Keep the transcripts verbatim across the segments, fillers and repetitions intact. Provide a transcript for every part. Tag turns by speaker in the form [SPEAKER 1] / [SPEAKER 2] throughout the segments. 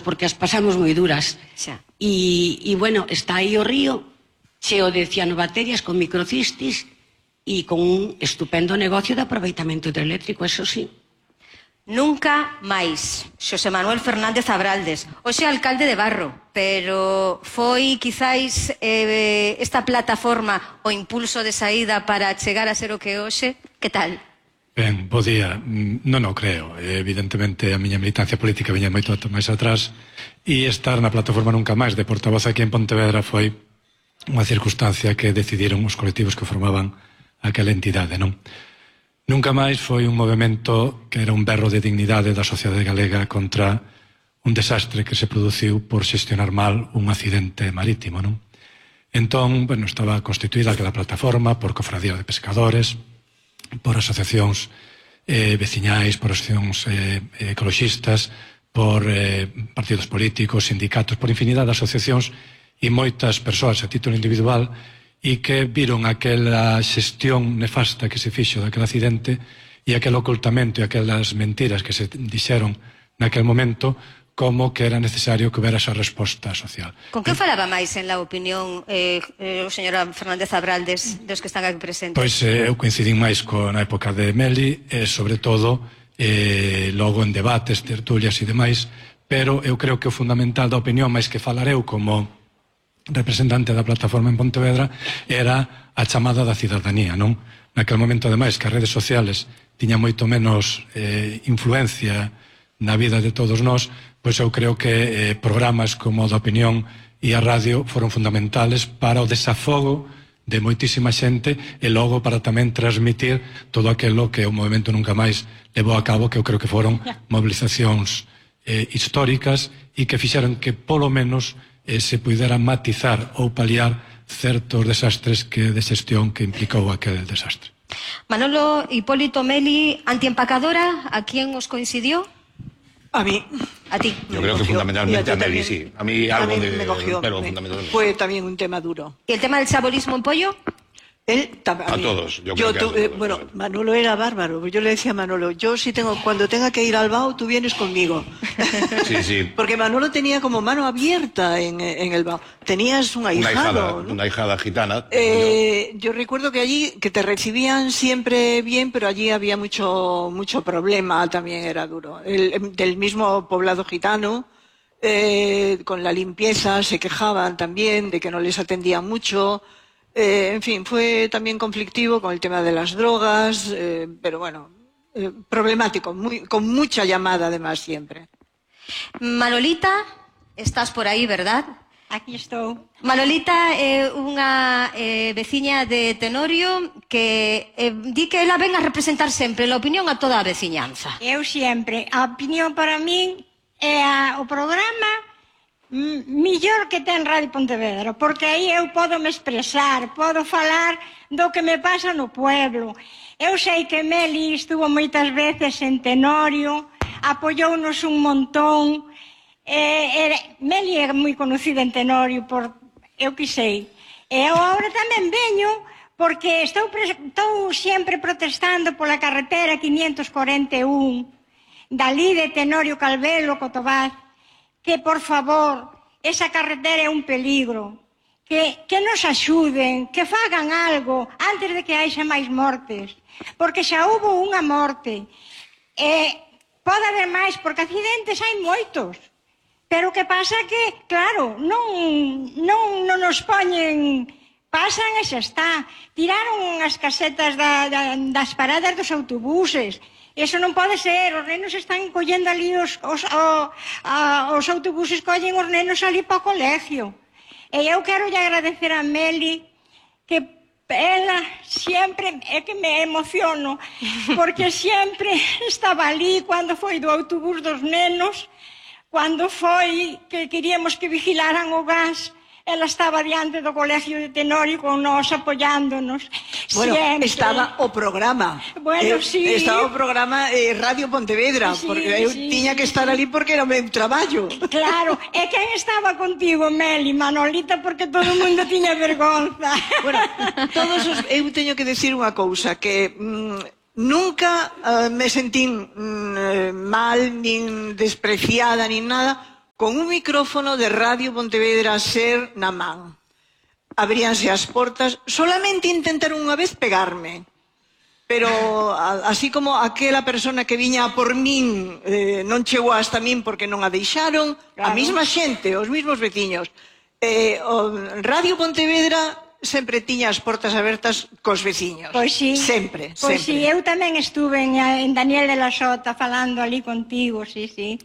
[SPEAKER 1] porque as pasamos moi duras. E, e bueno, está aí o río cheo de cianobacterias con microcistis e con un estupendo negocio de aproveitamento hidroeléctrico, eso sí.
[SPEAKER 2] Nunca máis. Xosé Manuel Fernández Abraldes, hoxe alcalde de Barro, pero foi quizáis eh, esta plataforma o impulso de saída para chegar a ser o que hoxe? Que tal?
[SPEAKER 3] Ben, bo día. Non o creo. Evidentemente a miña militancia política viña moito máis atrás e estar na plataforma Nunca Máis de portavoz aquí en Pontevedra foi unha circunstancia que decidiron os colectivos que formaban aquela entidade, non? Nunca Máis foi un movimento que era un berro de dignidade da sociedade galega contra un desastre que se produciu por xestionar mal un accidente marítimo, non? Entón, bueno, estaba constituída aquela plataforma por cofradía de pescadores, por asociacións eh, veciñais, por asociacións eh, ecologistas, por eh, partidos políticos, sindicatos, por infinidade de asociacións e moitas persoas a título individual e que viron aquela xestión nefasta que se fixo daquele accidente e aquel ocultamento e aquelas mentiras que se dixeron naquel momento como que era necesario que houbera esa resposta social.
[SPEAKER 2] Con que falaba máis en la opinión eh, eh, o señor Fernández Abraldes dos que están aquí presentes?
[SPEAKER 3] Pois eh, eu coincidín máis con a época de Meli e sobre todo eh, logo en debates, tertulias e demais, pero eu creo que o fundamental da opinión máis que falareu como representante da plataforma en Pontevedra era a chamada da cidadanía, non? Naquel momento, ademais, que as redes sociales tiñan moito menos eh, influencia na vida de todos nós, pois eu creo que eh, programas como o da opinión e a radio foron fundamentales para o desafogo de moitísima xente e logo para tamén transmitir todo aquilo que o movimento Nunca Máis levou a cabo, que eu creo que foron movilizacións eh, históricas e que fixeron que polo menos eh, se puidera matizar ou paliar certos desastres que de xestión que implicou aquel desastre.
[SPEAKER 2] Manolo Hipólito Meli, antiempacadora, ¿a quién os coincidió?
[SPEAKER 4] A mí.
[SPEAKER 2] A ti.
[SPEAKER 5] Yo creo que fundamentalmente a Meli, sí. A mí algo de...
[SPEAKER 4] me cogió.
[SPEAKER 5] Pero fundamentalmente.
[SPEAKER 4] Fue también un tema duro.
[SPEAKER 2] ¿Y el tema del chabolismo en pollo?
[SPEAKER 4] Él también.
[SPEAKER 5] A todos, yo
[SPEAKER 4] Yo
[SPEAKER 5] creo que a
[SPEAKER 4] tu- eh,
[SPEAKER 5] todos,
[SPEAKER 4] bueno,
[SPEAKER 5] sí.
[SPEAKER 4] Manolo era bárbaro. Yo le decía a Manolo, yo si tengo, cuando tenga que ir al Bao, tú vienes conmigo.
[SPEAKER 5] Sí, sí.
[SPEAKER 4] Porque Manolo tenía como mano abierta en, en el Bao. Tenías un
[SPEAKER 5] Una
[SPEAKER 4] ahijado,
[SPEAKER 5] hijada,
[SPEAKER 4] ¿no?
[SPEAKER 5] una hijada gitana.
[SPEAKER 4] Eh, yo recuerdo que allí que te recibían siempre bien, pero allí había mucho mucho problema, también era duro. El, del mismo poblado gitano, eh, con la limpieza se quejaban también de que no les atendían mucho. Eh, en fin, fue también conflictivo con el tema de las drogas, eh, pero bueno, eh, problemático, muy, con mucha llamada además siempre.
[SPEAKER 2] Manolita, estás por aí, verdad?
[SPEAKER 6] Aquí estou.
[SPEAKER 2] Manolita é unha eh, veciña de Tenorio que eh, di que ela ven a representar sempre a opinión a toda a veciñanza.
[SPEAKER 6] Eu sempre. A opinión para min é a, o programa mm, millor que ten Radio Pontevedra, porque aí eu podo me expresar, podo falar do que me pasa no pueblo. Eu sei que Meli estuvo moitas veces en Tenorio, apoyounos un montón. Eh, era, Meli é moi conocida en Tenorio por eu que sei. E eu agora tamén veño porque estou, estou sempre protestando pola carretera quinientos cuarenta e un dali de Tenorio Calvelo, Cotobaz, que por favor, esa carretera é un peligro, que, que nos axuden, que fagan algo antes de que haxa máis mortes, porque xa hubo unha morte. E pode haber máis, porque accidentes hai moitos. Pero o que pasa que, claro, non, non, non nos poñen, pasan e xa está. Tiraron as casetas da, da, das paradas dos autobuses. Eso non pode ser, os nenos están collendo ali, os, os, o, a, os autobuses collen os nenos ali para o colegio. E eu quero lle agradecer a Meli que ela sempre, é que me emociono, porque sempre estaba ali cando foi do autobús dos nenos, cando foi que queríamos que vigilaran o gas, ela estaba diante do colegio de Tenorio con nós apoyándonos.
[SPEAKER 4] Bueno,
[SPEAKER 6] sempre.
[SPEAKER 4] estaba o programa.
[SPEAKER 6] Bueno,
[SPEAKER 4] eh,
[SPEAKER 6] sí.
[SPEAKER 4] Estaba o programa eh, Radio Pontevedra,
[SPEAKER 6] Sí,
[SPEAKER 4] porque eu
[SPEAKER 6] sí.
[SPEAKER 4] tiña que estar ali porque era o meu traballo.
[SPEAKER 6] Claro, e quen estaba contigo, Meli, Manolita, porque todo o mundo tiña vergonza.
[SPEAKER 4] Bueno, todos os, eu teño que decir unha cousa, que mm, nunca uh, me sentín mm, mal, nin despreciada, nin nada, con un micrófono de Radio Pontevedra Ser na man. Abríanse as portas, solamente intentaron unha vez pegarme. Pero así como aquela persona que viña por min eh, non chegou hasta min porque non a deixaron, claro. A mesma xente, os mesmos veciños. Eh, o Radio Pontevedra sempre tiña as portas abertas cos veciños.
[SPEAKER 6] Pois sí.
[SPEAKER 4] Sempre,
[SPEAKER 6] pois
[SPEAKER 4] sempre.
[SPEAKER 6] sí, eu tamén estuve en, en Daniel de la Sota falando ali contigo, sí, sí.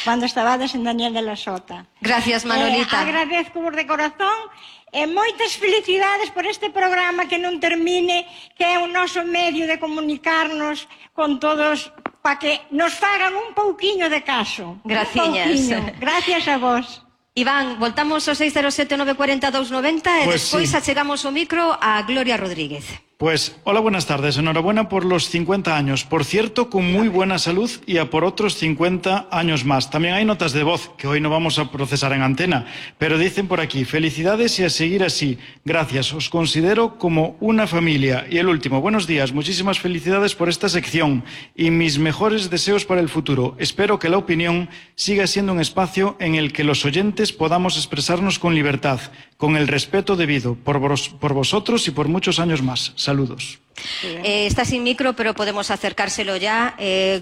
[SPEAKER 6] Cando estabades en Daniel de la Sota.
[SPEAKER 2] Gracias, Manolita.
[SPEAKER 6] Eh, agradezco de corazón e moitas felicidades por este programa que non termine, que é o noso medio de comunicarnos con todos para que nos fagan un pouquiño de caso.
[SPEAKER 2] Graciñas.
[SPEAKER 6] Gracias a vos.
[SPEAKER 2] Iván, voltamos ao seis cero sete nove cuatro cero dos noventa e
[SPEAKER 7] pues
[SPEAKER 2] despois
[SPEAKER 7] sí.
[SPEAKER 2] achegamos o micro a Gloria Rodríguez.
[SPEAKER 7] Pues, hola, buenas tardes. Enhorabuena por los cincuenta años. Por cierto, con muy buena salud y a por otros cincuenta años más. También hay notas de voz que hoy no vamos a procesar en antena, pero dicen por aquí, felicidades y a seguir así. Gracias, os considero como una familia. Y el último, buenos días, muchísimas felicidades por esta sección y mis mejores deseos para el futuro. Espero que la opinión siga siendo un espacio en el que los oyentes podamos expresarnos con libertad, con el respeto debido, por, vos, por vosotros y por muchos años más. Saludos.
[SPEAKER 2] Eh, está sin micro, pero podemos acercárselo ya. Eh,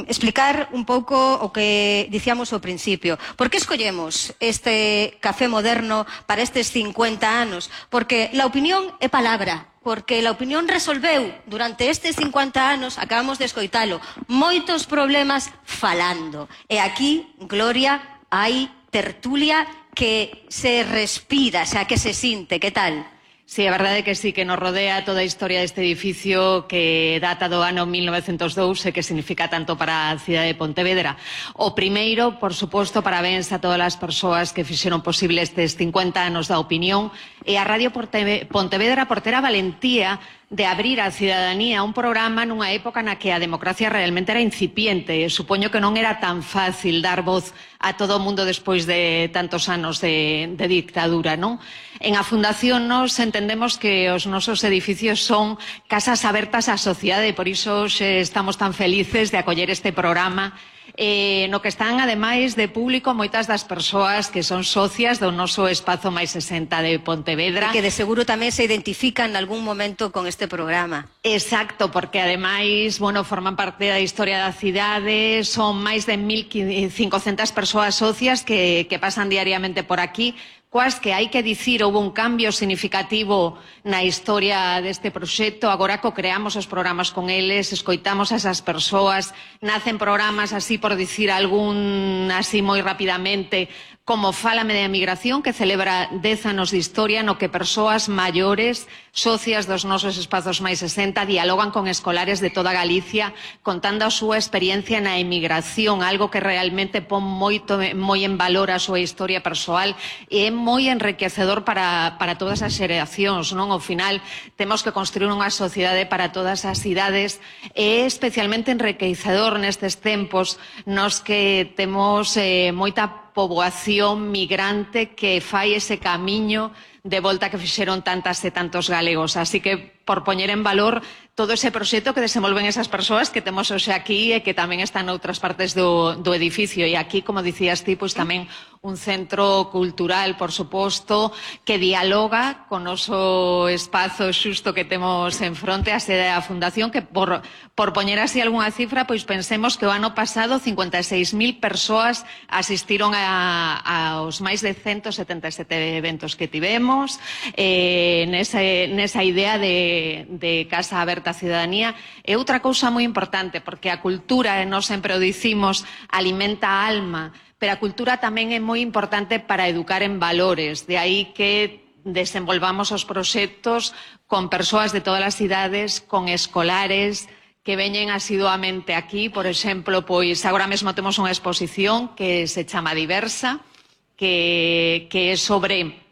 [SPEAKER 2] explicar un pouco o que dicíamos ao principio. Por que escollemos este café moderno para estes cincuenta anos? Porque la opinión é palabra. Porque la opinión resolveu durante estes cincuenta anos, acabamos de escoitalo, moitos problemas falando. E aquí, Gloria, hai tertulia que se respira, o sea, que se sinte. Que tal?
[SPEAKER 8] Sí, a verdade é que sí, que nos rodea toda a historia deste edificio que data do ano mil novecentos e dous e que significa tanto para a cidade de Pontevedra. O primeiro, por suposto, parabéns a todas as persoas que fixeron posible estes cincuenta anos da opinión e a Radio Pontevedra por ter a valentía de abrir á cidadanía un programa nunha época na que a democracia realmente era incipiente. Supoño que non era tan fácil dar voz a todo o mundo despois de tantos anos de, de dictadura, non? En a Fundación nos entendemos que os nosos edificios son casas abertas á sociedade e por iso estamos tan felices de acoller este programa eh, no que están, ademais de público, moitas das persoas que son socias do noso espazo máis sesenta de Pontevedra.
[SPEAKER 2] E que de seguro tamén se identifican en algún momento con este programa.
[SPEAKER 8] Exacto, porque ademais, bueno, forman parte da historia da cidade, son máis de mil cincocentas persoas socias que, que pasan diariamente por aquí, coas que hai que dicir houve un cambio significativo na historia deste proxecto. Agora co-creamos os programas con eles, escoitamos a esas persoas, nacen programas así por dicir algún así moi rapidamente, como Fálame de Emigración, que celebra dez anos de historia no que persoas maiores, socias dos nosos espazos máis sesenta, dialogan con escolares de toda Galicia contando a súa experiencia na emigración, algo que realmente pon moito, moi en valor a súa historia persoal e é moi enriquecedor para, para todas as xeracións, non? Ao final temos que construir unha sociedade para todas as idades e é especialmente enriquecedor nestes tempos nos que temos eh, moita poboación migrante que fai ese camiño de volta que fixeron tantas e tantos galegos. Así que, por poñer en valor todo ese proxecto que desenvolven esas persoas que temos hoxe aquí e que tamén están noutras partes do, do edificio. E aquí, como dicías ti, pois tamén un centro cultural, por suposto, que dialoga con o noso espazo xusto que temos en fronte, a sede da Fundación, que por, por poñer así algunha cifra, pois pensemos que o ano pasado cincuenta e seis mil persoas asistiron a, aos máis de ciento setenta e sete eventos que tivemos, eh, nesa, nesa idea de, de casa aberta a cidadanía. É outra cousa moi importante, porque a cultura, e nós sempre o dicimos, alimenta a alma, pero a cultura tamén é moi importante para educar en valores. De aí que desenvolvamos os proxectos con persoas de todas as idades, con escolares que veñen asiduamente aquí. Por exemplo, pois agora mesmo temos unha exposición que se chama Diversa, que, que é sobre...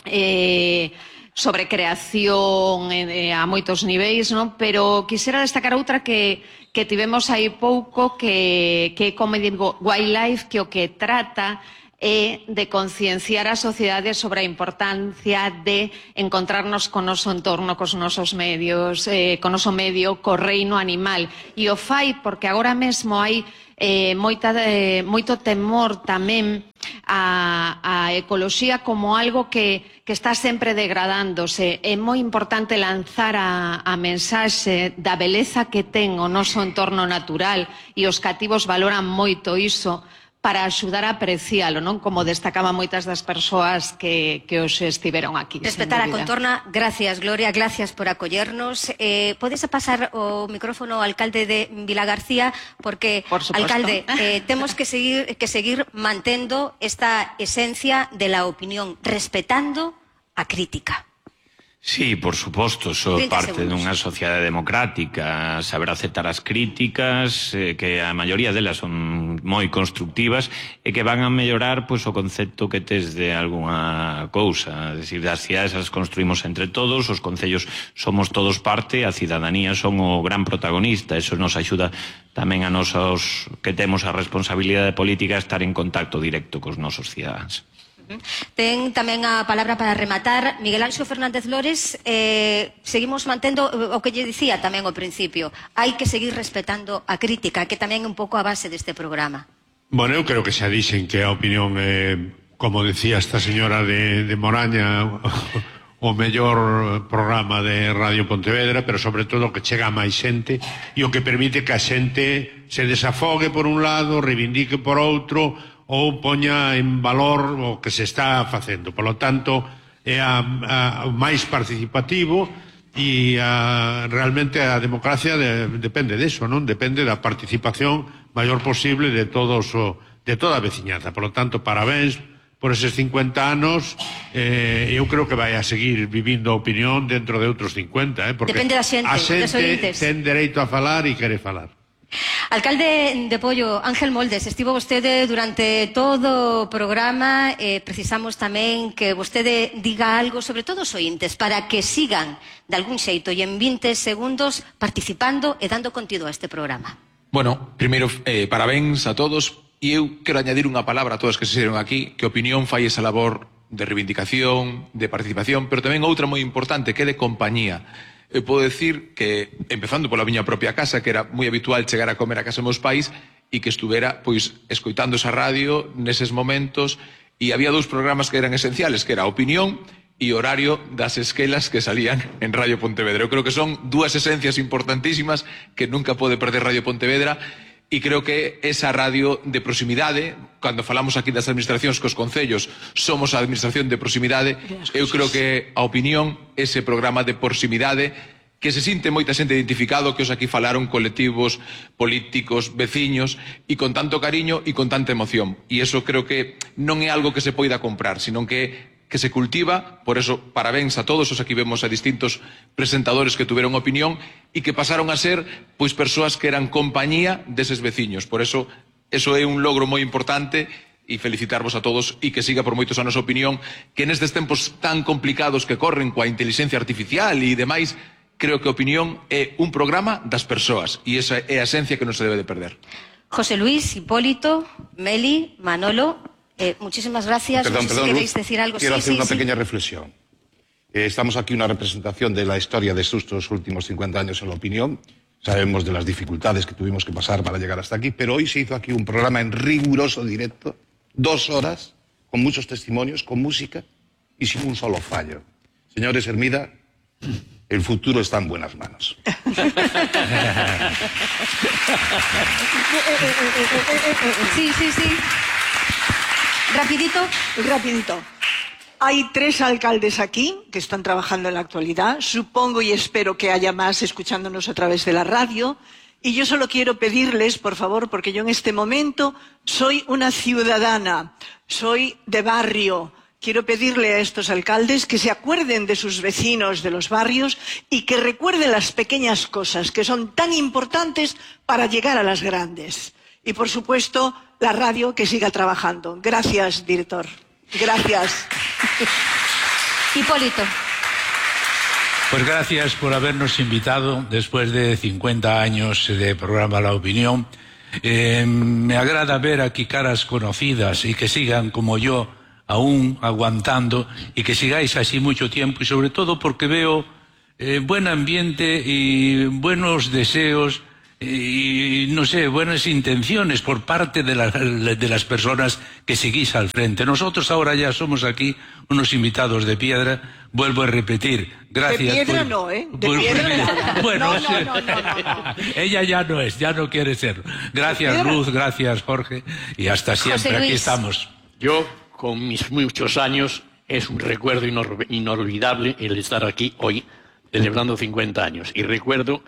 [SPEAKER 8] Eh, sobre creación eh, a moitos niveis, non? Pero quixera destacar outra que, que tivemos aí pouco, que, que é Comedy Wildlife, que o que trata é de concienciar a sociedade sobre a importancia de encontrarnos con o noso entorno, cos nosos medios, eh, con o noso medio, co reino animal. E o fai porque agora mesmo hai eh, moita, eh, moito temor tamén a, a ecoloxía como algo que, que está sempre degradándose. É moi importante lanzar a, a mensaxe da beleza que ten o noso entorno natural, e os cativos valoran moito iso, para axudar a aprecialo, non? Como destacaban moitas das persoas que, que os estiveron aquí.
[SPEAKER 2] Respetar a contorna. Gracias, Gloria, gracias por acollernos. Eh, podes pasar o micrófono ao alcalde de Vilagarcía, porque,
[SPEAKER 8] por supuesto,
[SPEAKER 2] alcalde, eh, temos que seguir, que seguir mantendo esta esencia de la opinión, respetando a crítica.
[SPEAKER 9] Sí, por suposto, so parte
[SPEAKER 2] segundos.
[SPEAKER 9] dunha sociedade democrática, saber aceptar as críticas, eh, que a maioría delas son moi constructivas e que van a mellorar pois, o concepto que tes de algunha cousa. É dicir, as cidades as construímos entre todos, os concellos somos todos parte, a cidadanía son o gran protagonista, eso nos axuda tamén a nosos que temos a responsabilidade política a estar en contacto directo cos nosos cidadáns.
[SPEAKER 2] Ten tamén a palabra para rematar Miguel Anxo Fernández Lores. eh, Seguimos mantendo o que lle dicía tamén ao principio. Hai que seguir respetando a crítica, que tamén é un pouco a base deste programa.
[SPEAKER 10] Bueno, eu creo que xa dixen que a opinión é, como decía esta señora de, de Moraña, o mellor programa de Radio Pontevedra, pero sobre todo que chega a máis xente e o que permite que a xente se desafogue por un lado, reivindique por outro, ou poña en valor o que se está facendo. Por lo tanto, é a, a, o máis participativo e a, realmente a democracia de, depende deso, non? Depende da participación maior posible de todos o, de toda a veciñanza. Por lo tanto, parabéns por eses cincuenta anos. Eh, eu creo que vai a seguir vivindo a opinión dentro de outros cincuenta, eh? Porque
[SPEAKER 2] depende da xente,
[SPEAKER 10] a xente
[SPEAKER 2] dos
[SPEAKER 10] ten dereito a falar e quere falar.
[SPEAKER 2] Alcalde de Pollo, Ángel Moldes, estivo vostede durante todo o programa. eh, Precisamos tamén que vostede diga algo, sobre todo os ointes, para que sigan de algún xeito e en vinte segundos participando e dando contido a este programa.
[SPEAKER 11] Bueno, primeiro, eh, parabéns a todos. E eu quero añadir unha palabra a todos que se xeron aquí, que opinión fai esa labor de reivindicación, de participación, pero tamén outra moi importante, que é de compañía. Eu podo decir que, empezando pola miña propia casa, que era moi habitual chegar a comer a casa dos meus pais e que estuvera, pois, escoitando esa radio neses momentos, e había dous programas que eran esenciales, que era a opinión e horario das esquelas que salían en Radio Pontevedra. Eu creo que son dúas esencias importantísimas que nunca pode perder Radio Pontevedra. E creo que esa radio de proximidade, cando falamos aquí das administracións cos concellos, somos a administración de proximidade. Eu creo que a opinión, ese programa de proximidade, que se sinte moita xente identificado, que os aquí falaron colectivos, políticos, veciños, e con tanto cariño e con tanta emoción. E iso creo que non é algo que se poida comprar, sino que que se cultiva. Por eso, parabéns a todos os aquí vemos a distintos presentadores que tuveron opinión e que pasaron a ser pois persoas que eran compañía deses veciños. Por eso, eso é un logro moi importante e felicitarvos a todos e que siga por moitos anos a opinión, que nestes tempos tan complicados que corren coa inteligencia artificial e demais, creo que a opinión é un programa das persoas e esa é a esencia que non se debe de perder.
[SPEAKER 2] José Luis, Hipólito, Meli, Manolo, Eh, muchísimas gracias.
[SPEAKER 5] Perdón,
[SPEAKER 2] no sé
[SPEAKER 5] perdón,
[SPEAKER 2] si queréis
[SPEAKER 5] Luz,
[SPEAKER 2] decir algo.
[SPEAKER 5] Quiero
[SPEAKER 2] sí,
[SPEAKER 5] hacer
[SPEAKER 2] sí,
[SPEAKER 5] una
[SPEAKER 2] sí.
[SPEAKER 5] pequeña reflexión. Eh, estamos aquí una representación de la historia de estos últimos cincuenta años en la opinión. Sabemos de las dificultades que tuvimos que pasar para llegar hasta aquí, pero hoy se hizo aquí un programa en riguroso directo, dos horas, con muchos testimonios, con música y sin un solo fallo. Señores Hermida, el futuro está en buenas manos.
[SPEAKER 2] Sí, sí, sí. Rapidito.
[SPEAKER 4] Rapidito. Hay tres alcaldes aquí que están trabajando en la actualidad. Supongo y espero que haya más escuchándonos a través de la radio. Y yo solo quiero pedirles, por favor, porque yo en este momento soy una ciudadana, soy de barrio. Quiero pedirle a estos alcaldes que se acuerden de sus vecinos de los barrios y que recuerden las pequeñas cosas que son tan importantes para llegar a las grandes. Y, por supuesto, la radio que siga trabajando. Gracias, director. Gracias.
[SPEAKER 2] Hipólito.
[SPEAKER 12] Pues gracias por habernos invitado después de cincuenta años de programa La Opinión. Eh, me agrada ver aquí caras conocidas y que sigan como yo aún aguantando y que sigáis así mucho tiempo, y sobre todo porque veo eh, buen ambiente y buenos deseos y, no sé, buenas intenciones por parte de, la, de las personas que seguís al frente. Nosotros ahora ya somos aquí unos invitados de piedra, vuelvo a repetir, gracias.
[SPEAKER 4] De piedra
[SPEAKER 12] por,
[SPEAKER 4] no, ¿eh? De
[SPEAKER 12] por,
[SPEAKER 4] piedra no.
[SPEAKER 12] Bueno,
[SPEAKER 4] no, no, no, no, no.
[SPEAKER 12] ella ya no es, ya no quiere ser. Gracias, Ruth, gracias, Jorge, y hasta siempre, aquí estamos.
[SPEAKER 13] Yo, con mis muchos años, es un recuerdo inor inolvidable el estar aquí hoy, celebrando cincuenta años. Y recuerdo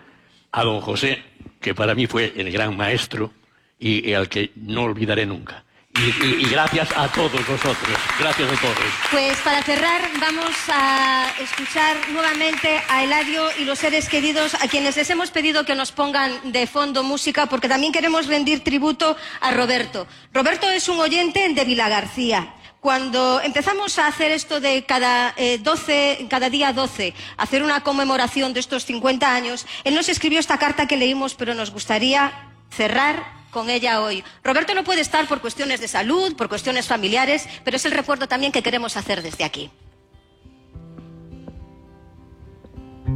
[SPEAKER 13] a don José, que para mí fue el gran maestro y, y al que no olvidaré nunca. Y, y, y gracias a todos vosotros, gracias a todos.
[SPEAKER 2] Pues para cerrar vamos a escuchar nuevamente a Eladio y los seres queridos, a quienes les hemos pedido que nos pongan de fondo música, porque también queremos rendir tributo a Roberto. Roberto es un oyente de Vilagarcía. Cuando empezamos a hacer esto de cada, eh, doce, cada día doce, hacer una conmemoración de estos cincuenta años, él nos escribió esta carta que leímos, pero nos gustaría cerrar con ella hoy. Roberto no puede estar por cuestiones de salud, por cuestiones familiares, pero es el recuerdo también que queremos hacer desde aquí.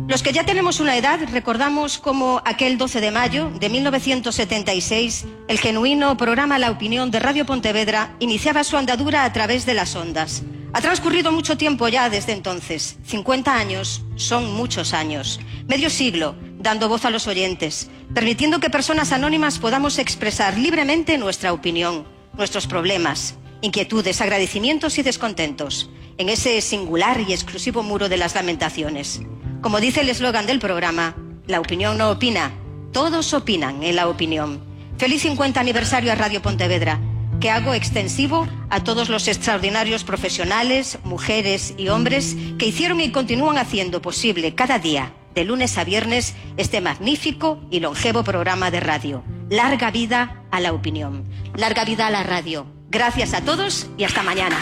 [SPEAKER 2] Los que ya tenemos una edad recordamos cómo aquel doce de mayo de mil novecientos setenta y seis el genuino programa La Opinión de Radio Pontevedra iniciaba su andadura a través de las ondas. Ha transcurrido mucho tiempo ya desde entonces. cincuenta años son muchos años. Medio siglo dando voz a los oyentes, permitiendo que personas anónimas podamos expresar libremente nuestra opinión, nuestros problemas, inquietudes, agradecimientos y descontentos, en ese singular y exclusivo muro de las lamentaciones. Como dice el eslogan del programa, la opinión no opina, todos opinan en La Opinión. Feliz cincuenta aniversario a Radio Pontevedra, que hago extensivo a todos los extraordinarios profesionales, mujeres y hombres que hicieron y continúan haciendo posible cada día, de lunes a viernes, este magnífico y longevo programa de radio. Larga vida a La Opinión. Larga vida a la radio. Gracias a todos y hasta mañana.